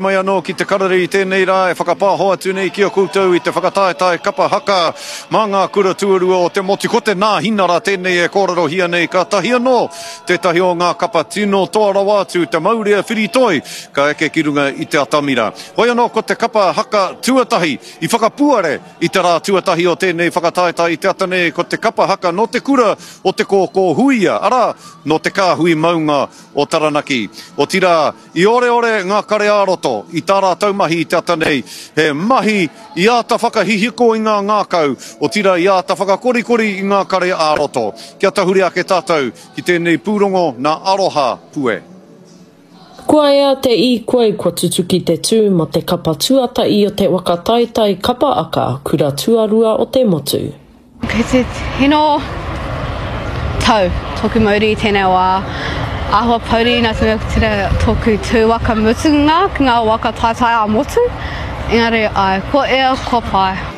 Mai anō ki te karere i tēnei rā e whakapāho atu nei ki a koutou i te whakataetae kapa haka mā ngā kura tuarua o te motu. Ko te Nāhinara tēnei e kōrerohia nei kātahi anō tētahi o ngā kapa tino toa rawa atu te maurea whiritoi ka eke ki runga i te atamira. Hoi anō ko te kapa haka tuatahi i whakapuare i te rā tuatahi o tēnei whakataetae i te ata nei ko te kapa haka nō te kura o Te Kōkō Huia, arā, nō te kāhui maunga o Taranaki. Otirā, I oreore ngā kare ā-roto i tā rātou mahi i te ata nei, he mahi i āta whakahihiko i ngā ngākau, otirā i āta whakakorikori i ngā kare ā-roto. Kia tahuri ake tātou ki tēnei pūrongo nā Aroha Pue. Kua ea te īkoi kua tutuki te tū mō te kapa tuatahi o te waka taetae kapa aka kura tuarua o te motu. Kei te tino tau tōku mauri i tēnei wā. Āhua pouri nā te mea ko tērā tōku tū waka mutunga ki ngā waka taetae ā-motu. Engari āe, kua ea, kua pai.